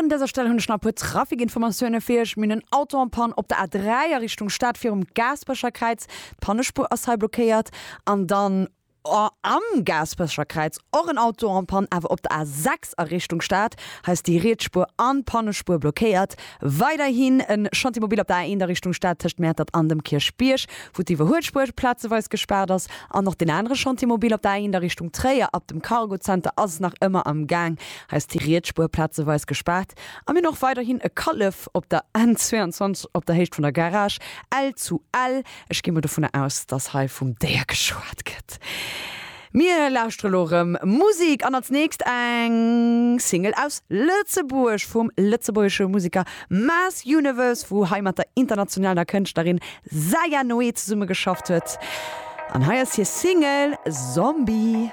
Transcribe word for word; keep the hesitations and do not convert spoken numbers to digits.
An dëser Stell hunn ech nach e puer Trafikinformatioune fir iech. Mir hunn en Auto en panne op der A dräi a Richtung Stad virum Gaasperecher Kräiz. D'Pannespuer ass hei blockéiert. An dann am Gaasperecher Kräiz och en Auto en panne, awer op der A sechs a Richtung Stad. Hei ass déi riets Spuer an d'Pannespuer blockéiert. Weiderhin e Chantier mobile op der A eent a Richtung Stad tëscht Mäertert an dem Kierchbierg, wou d'Iwwerhuelspuer plazeweis gespaart ass. An och den anere Chantier mobile op der A eent a Richtung Tréier ab dem Cargozenter ass nach ëmmer am Gaang. Hei ass déi riets Spuer plazeweis gespaart. A mir hunn och weiderhin e Kallef op der N zweiundzwanzeg op der Héicht vun der Garage L zu Ell. Ech gi mol dovunner aus, dass hei vum Déier geschwat gëtt. Mir lauschtere lo rëm Musik an als nächst eng Single aus Lëtzebuerg vum lëtzebuergesche Museker Mass Universe, wou hei mat der internationaler Kënschtlerin Zaya Noé zesummegeschafft huet. An hei ass hir Single Zombie.